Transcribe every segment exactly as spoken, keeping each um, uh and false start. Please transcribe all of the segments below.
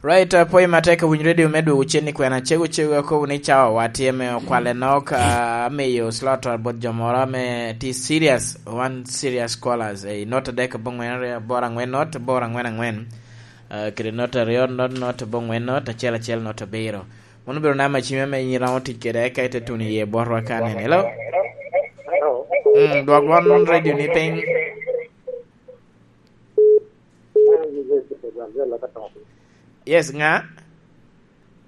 Right, apwoyo matek awiny radio me dwogo cen i kwena cego cego, akobo ni cawa wa tye me okwale nok, ah, amiyo slot bot jo moro ame tye serious, one serious callers, eh, not adek abongwen aryo aboro angwen not aboro angwen angwen, ah, kede not aryo not not abongwen not acel acel not abiro. Mano obedo namba cim ame in iromo tic kede, eka ite tuno iye botwa ka nen. Hello? Mm, dwok dwon radio ni piny. Yes, nga?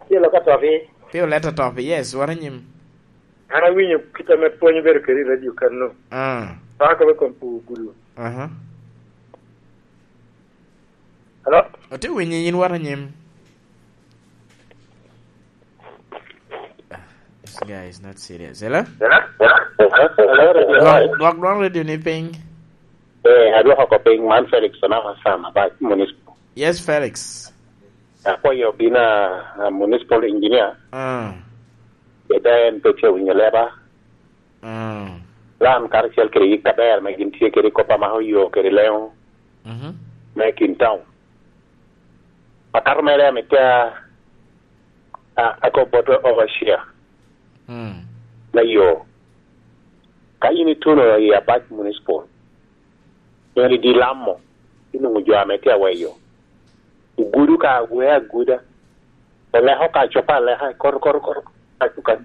Acel ka topi. Pi oleta topi, yes, wara nyim. An awinyo kit ame pwony obedo kede i radio kano. Ah. Pako me kom pu gudu. Aha. Hello? Ati winyo yin wara nyim. Ah, this guy is not serious. Hello? Hello? Hello, radio. Dwok, dwok dwon radio ni piny. Eh, adwoko ko piny, man Felix Onama Sam, Abac Municipal. Yes, Felix. Akwayo obina, ah, municipal engineer. Ah. Bed en pe tye winyo leba. Ah. Lan karacel kede yik aber me gin tye kede kop amako yo kede leŋo. Mhm. Me kin town. Akato mere ame tye a, a, ako bot overseer. Mm. Me yo. Ka in ituno i Abac Municipal, en idi Lamo, inwoŋo jo ame tye aweyo. Ogudo ka agwe aguda. Oleko ka copo aleka, koto, koto, koto, ka cuka.